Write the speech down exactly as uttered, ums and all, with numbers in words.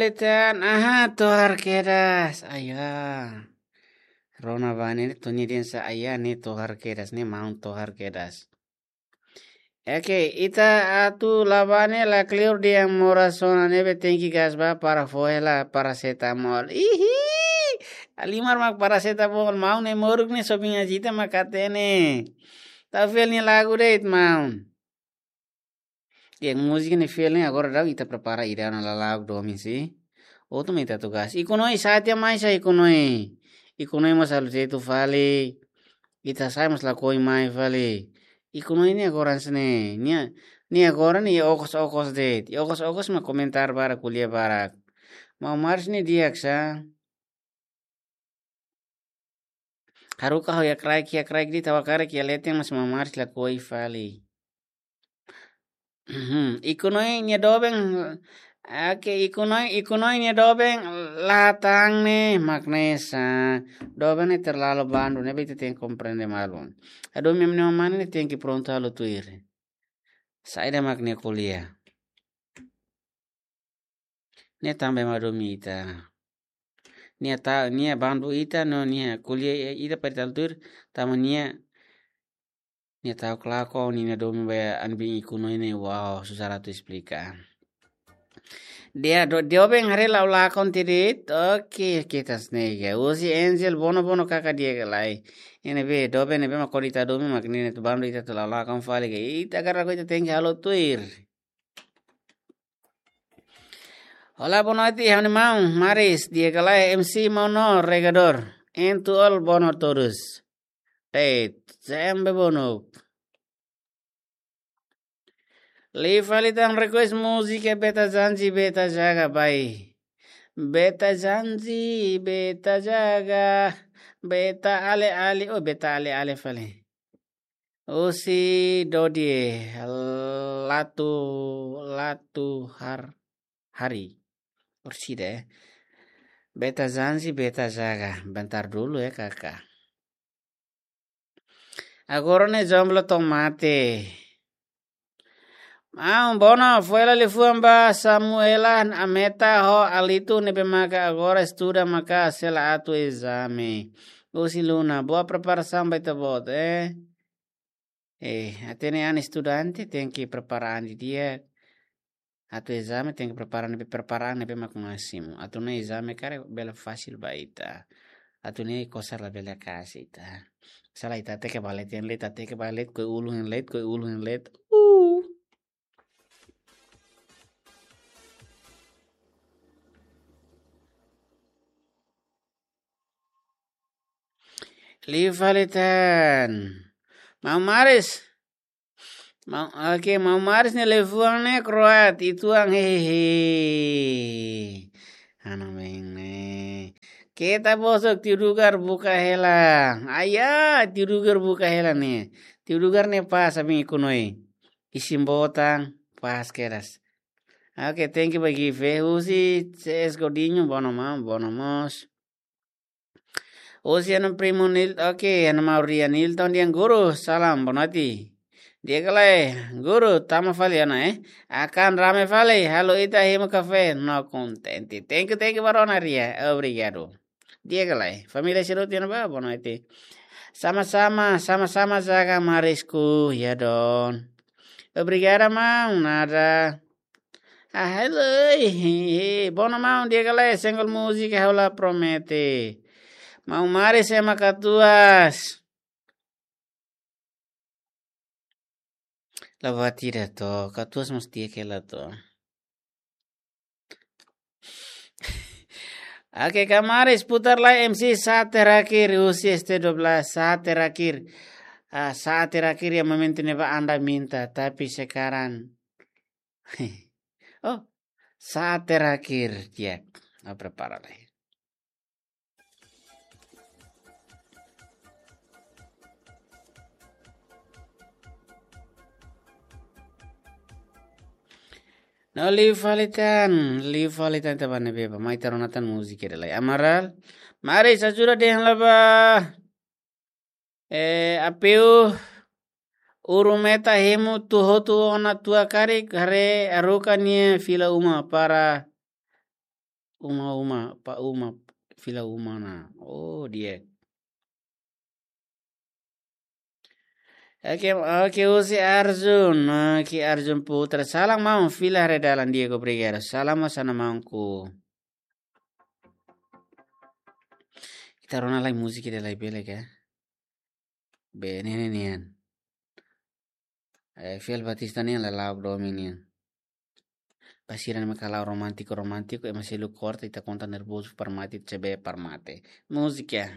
Litan, aha, tohar kedas. Aya. Rona bá ne'e, Tony Densa, aya, ne'e tohar kedas, ne'e maun tohar kedas. Oke, ita atu la bá ne'e la kleur dehan moras ona, ne'ebé tenke gas bá para fó hela parasetamol. Ihi! Halimar mak parasetamol, maun ne'e moruk ne'e sobinha jita mak hatene. Tau fiel nia lagu de'it, maun. Nia múzika ne'e fiel ne'e, agora daudaun ita prepara ida ona lala'ok domin si. Outro mai ita atu gas. Iku Noi, satia mai sa Iku Noi. Iku Noi mós halo tetu fali. Ita sai mós lakohi mai fali. Iku Noi ne'e agora hanesan ne'e. Nia, nia agora ne'e okos-okos de'it. Okos-okos mak komentar barak, ko'alia barak. Maun Maris ne'e di'ak sa. Haruka ho iha kraik, iha kraik de'it, ha'u hakarak iha leten mas maun Maris lakohi fali. Iku Noi nia doben, oke, Iku Noi, Iku Noi nia doben la hatán ne'e mak ne'e sa. Doben ne'e terlalu bandu, ne'ebé ita tenke komprende malu. Adu mem ne mane ne'e tenke prontu halo tuir. Saida mak nia ko'alia. Nia tanba ema domin ita. Nia ta, nia bandu ita no nia ko'alia ita para ita halo tuir, tanba nia, nia ta'uk lakon, nia domin ba an bin Iku Noi ne'e, wow, susar atu esplika. Nia do, doben haree la'o lakon tiha de'it, oke, kita snega. Husi Angel, bono, bono kaka di'ak ka lae. Ne'ebé, doben ne'ebé mak kodi ita domin mak nia ne'e atu bandu ita atu la'o lakon fali ka. Ita hakarak ita tenke halo tuir. Olá, boa noite, ha'u-nia maun Maris, di'ak ka lae, M C maun no regador. Entu ol bono todos. Teit, sempre bono. Liu fali tan request múzika Beta Janji, Beta Jaga, bai. Beta Janji, Beta Jaga, Beta Ale Ale, oh, Beta Ale Ale fali. Husi Dodie, Latu, Latu Har, Hari. Orsida, eh. Beta Janji, Beta Jaga. Bentar dulu ya, Kakak. Agora ne'e jomblo to'o mate. Maun, bono, fó hela liafuan ba Samuela Ameta ho Alitu ne'ebé maka agora estuda maka sei la atu ezame. Husi Luna, boa preparasaun ba ita-boot, eh. Eh, hatene an estudante tenke prepara an didi'ak. Atu ezame tenke prepara ne'ebé, prepara an ne'ebé mak másimu. Atu nune'e ezame karik bele fasil ba ita. Atu nune'e kosar labele akas ita. Se lae ita hateke ba leet, iha leet, hateke ba leet, koi ulun iha leet, koi ulun iha leet. Uh. Liu fali tan. Maun Maris. Maun, oke, maun Maris nia liafuan ne'e kroat, ituan hehehe. Anu beng ne'e. Keta bosok, tiu Dugar buka hela. Aya, tiu Dugar buka hela ne'e. Tiu Dugar ne'e pas ami Iku Noi. Isin botan, pas kedas. Oke, thank you ba gift, eh. Husi C S Godinho, bono maun, bono mós. Husi ha'u-nia primu Nil, oke, ha'u-nia maun Ria Nilton dehan guru, salam, boa noite. Di'ak ka lae, guru, tama fali ona, eh. Akan rame fali, halo ita hemu kafé, no kontente. Thank you, thank you ba rona Ria, obrigadu. Di'ak ka lae, família sira hotu iha ne'ebá, boa noite. Sama-sama, sama-sama jaga Marisku, ya don. Obrigada, maun, nada. Ah, hello, eh, eh, bono maun, di'ak ka lae, senggol múzika ha'u la promete. Maun Maris ema katuas. La buat ida to, katuas mós di'ak hela to. Oke, Kak Maris, putar lai M C saat terakhir, husi S T dua belas, saat terakhir. Ah, saat terakhir ya momentu ne'ebá Anda minta, tapi sekarang. Oh, saat terakhir, ya. Ah, prepara lai. No, liu fali tan, liu fali tan, ita bá ne'ebé bá, mai ita rona tan múzika ida lai. Amaral, Maris, ajuda dehan la bá. Eh, apeu, Urumeta hemu atu hotu ona tua karik, haree haruka nia fila uma para uma uma, pa uma, fila uma na. Oh, di'ak. Oke, oke, husi Arjun. Oke, Arjun Putra. Salam maun, fila haree dalan, di'ak, obrigadu. Salam mós ona maunku. Ita rona lai múzika ida lai bele ka? Be, ne'e ne'e nian. Eh, Fiel Batista nian la la'o domin nian. Ba sira ne'ebé ka la'o romántiku, romántiku, ema selu korta, ita konta nervozu, para mate, cebe, para mate. Múzika.